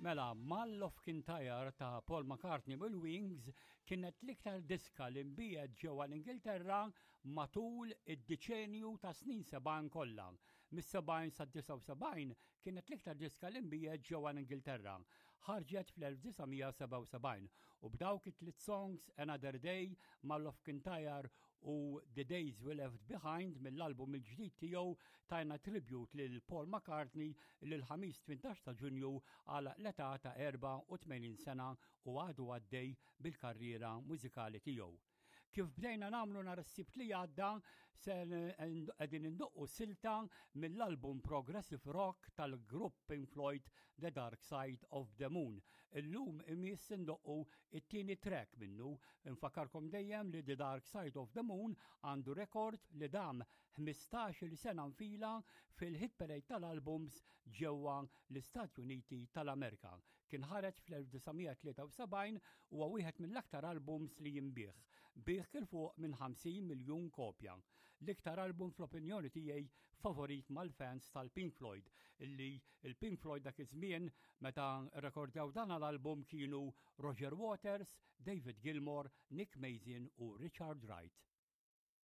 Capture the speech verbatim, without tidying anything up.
Mela, Mull of Kintyre ta' Paul McCartney bil-Wings kienet l-iktar diska li nbiegħet ġewwa l-Ingilterra matul id-deċenju ta' snin sebgħin kollha. Mis-sebgħin sa' disgħa u sebgħin kienet l-iktar diska li nbiegħet ġewwa l-Ingilterra. Ħarġet fl-elf disa' mija sebgħa u sebgħin u b'dawk it-tliet songs, Another Day, Mull of Kintyre u The Days We Left Behind mill-album il-ġdid tiegħu, tajna tribute lil Paul McCartney li l-Ħamis tmintax ta' Ġunju għal l-età ta' erbgħa u tmenin sena u għadu għaddej bil-karriera mużikali tiegħu. Kif bdejna nagħmlu nhar is-Sibt li għadda, se qegħdin indoqqu silta mill-album Progressive Rock tal-grupp Pink Floyd, The Dark Side of the Moon. Illum imiss indoqqu it-tieni track minnu. Infakkarkom dejjem li The Dark Side of the Moon għandu rekord li dam ħmistax-il sena nfila fil-hit parade tal-albums ġewwa l-Istati Uniti tal-Amerika. Kien ħareġ fl-elf disa' mija tlieta u sebgħin u huwa wieħed mill-aktar albums li jinbiegħ. Biegħ 'il fuq minn ħamsin miljun kopja. L-iktar album, fl-opinjoni tiegħi, favorit mal-fans tal-Pink Floyd, illi il-Pink Floyd dak iż-żmien meta rrekordjaw dan l-album kienu Roger Waters, David Gilmour, Nick Mason u Richard Wright.